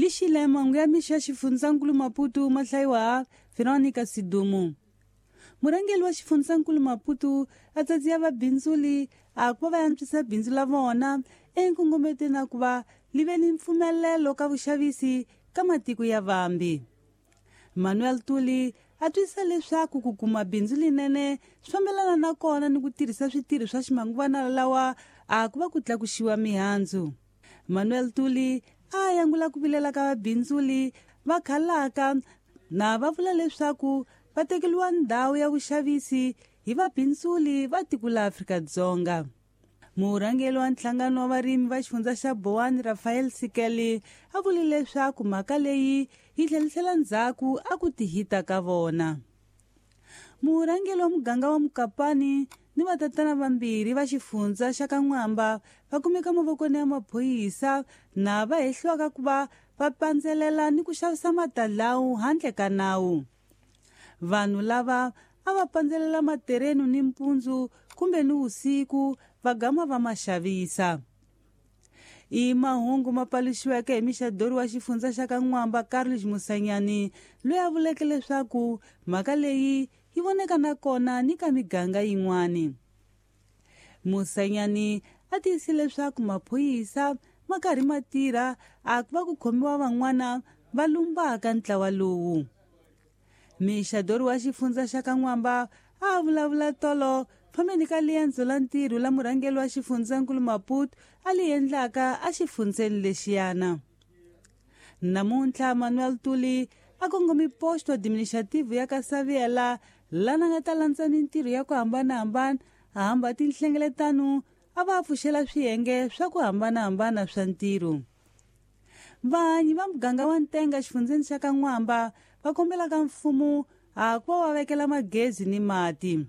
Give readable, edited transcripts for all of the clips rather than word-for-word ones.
Lixile mahungu ya mixo ya xifundzankulu Maputo ma hlayiwa Veronica Sidumo. Murhangeri wa xifundzankulu Maputo a tsadziya vabindzuli a ku va va antswisa bindzu la vona enkongometweni na ku va li ve ni mpfumelelo ka vuxavisi ka matiko ya vambi. Manuel Tuli a twisisa leswaku ku kuma bindzu linene swi fambelana na kona ni ku tirhisa switirho swa ximanguvana lawa a ku va ku tlakuxiwa mihandzu. Manuel Tuli a yangula ku vilela ka vabindzuli va khalaka na va vula leswaku va tekeriwa ndhawu ya vuxavisi hi vabindzuli va tiko la Afrika-Dzonga. Murhangeri wa nhlangano wa varimi va xifundza xa Bowani Rafael Sikeli a vule leswaku mhaka leyi yi tlhelisela ndzhaku a ku tihita ka vona. Murhangeri wa muganga wa Mukapani ni vatatana vambirhi va xifundza xa ka N'wamba va kumeka mavokweni ya maphorisa na va hehliwaka ku va va pandzelela ni ku xavisa matalawu handle ka nawu. Vanhu lava a va pandzelela materenu ni mpundzu kumbe ni usiku va gama va ma xavisa. I mahungu ma paluxiweke hi mixadori wa xifundza xa ka N'wamba Carlos Musanyani loyi a vuleke leswaku mhaka leyi yi voneka na kona ni ka miganga yin'wani. Musanyani a tiyisile leswaku maphorisa ma karhi ma tirha a ku va ku khomiwa van'wana va lumbaka ntlawa lowu. Mixadori wa xifundza xa ka N'wamba a vulavula tolo fambeni ka liendzo la ntirho la murhangeri wa xifundzankulu Maputo a li endlaka a xifundzeni lexiyana. Namuntlha Manuel Tuli a kongomi posto administrative ya ka Saviela lana nga ta landza mintirho ya ku hambanahambana a hamba tinhlengeletano a va pfuxela swiyenge swa ku hambanahambana swa ntirho. Vanyi va muganga wa Ntenga xifundzeni xa ka N'wamba va kombela ka mfumo a ku va va vekela magezi ni mati.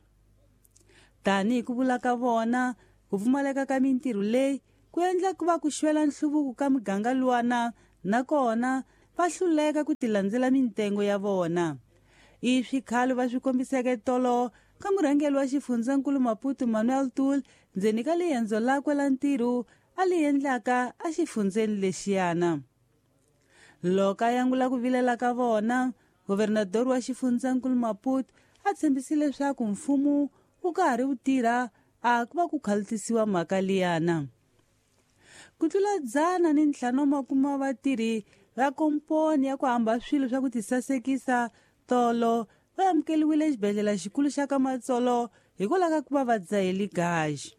Tanihi ku vula ka vona, ku pfumaleka ka mintirho leyi ku endla ku va ku xwela nhluvuko ka muganga luwana nakona va hluleka ku tilandzela mintengo ya vona. I swikhalo va swi kombiseke tolo ka murhangeri wa xifundzankulu Maputo Manuel Tul ndzeni ka liendzo lakwe la ntirho a li endlaka a xifundzeni lexiyana. Loko a yangula ku vilela ka vona, governador wa xifundzankulu Maputo a tshembisile leswaku mfumo wu ka ha ri wu tirha a ku va ku khalutisiwa mhaka liyana. Ku tlula 150 wa vatirhi va komponi ya ku hamba swilo swa ku tisasekisa tolo va amukeliwile exibedhlele xikulu xa ka Matsolo hikwalaho ka ku va va dzahele gaji.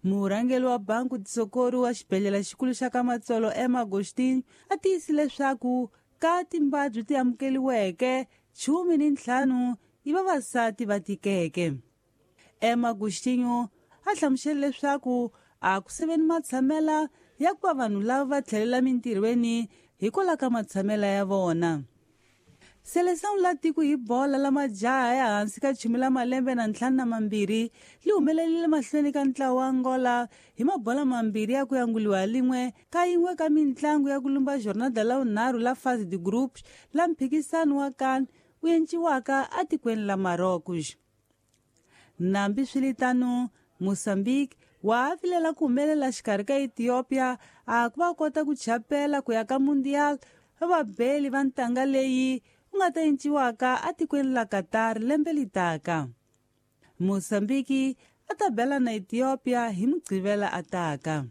Murhangeri wa banku Tisokori wa xibedhlele xikulu xa ka Matsolo Emma Agostinho a tiyisile leswaku ka timbabyi ti amukeliweke 15 i vavasati va tikeke. Emma Agostinho a hlamusele leswaku a ku seveni matshamela ya ku va vanhu lava va tlhelela mintirhweni hikwalaho ka matshamela ya vona. Seleção la tiko hi bola la majaha ya hansi ka 15 li humelelile mahlweni ka ntlawa wa Angola hi mabola mambirhi ya ku yanguliwa lin'we ka yin'we ka mintlangu ya ku lumba jornada la vunharhu la fase de groups la mphikisano wa CAN wu enciwaka atikweni la Marrocos. Nambi swiritano, Mozambique wa ha vilela ku humelela xikarhi ka Ethiopia a ku va kota ku chapela ku ya ka Mundial va vabeli va ntanga leyi u nga ta enciwaka atikweni la Qatar lembe litaka. Mozambique a ta bela na Ethiopia hi Mugqivela ataka.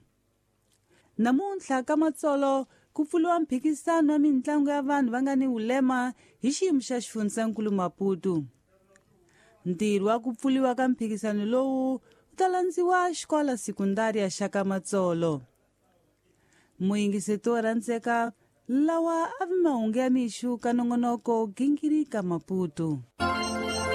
Namuntlha ka Matsolo ku pfuriwa mphikisano wa mintlangu ya vanhu va nga ni vulema hi xiyimo xa xifundzankulu Maputo. Ntirho wa ku pfuriwa ka mphikisano lowu wu ta landziwa xikola sekundari ya xa ka Matsolo. Muyingiseti wo rhandzeka lawa a vi mahungu ya mixo ka nongonoko Gingirika Maputo.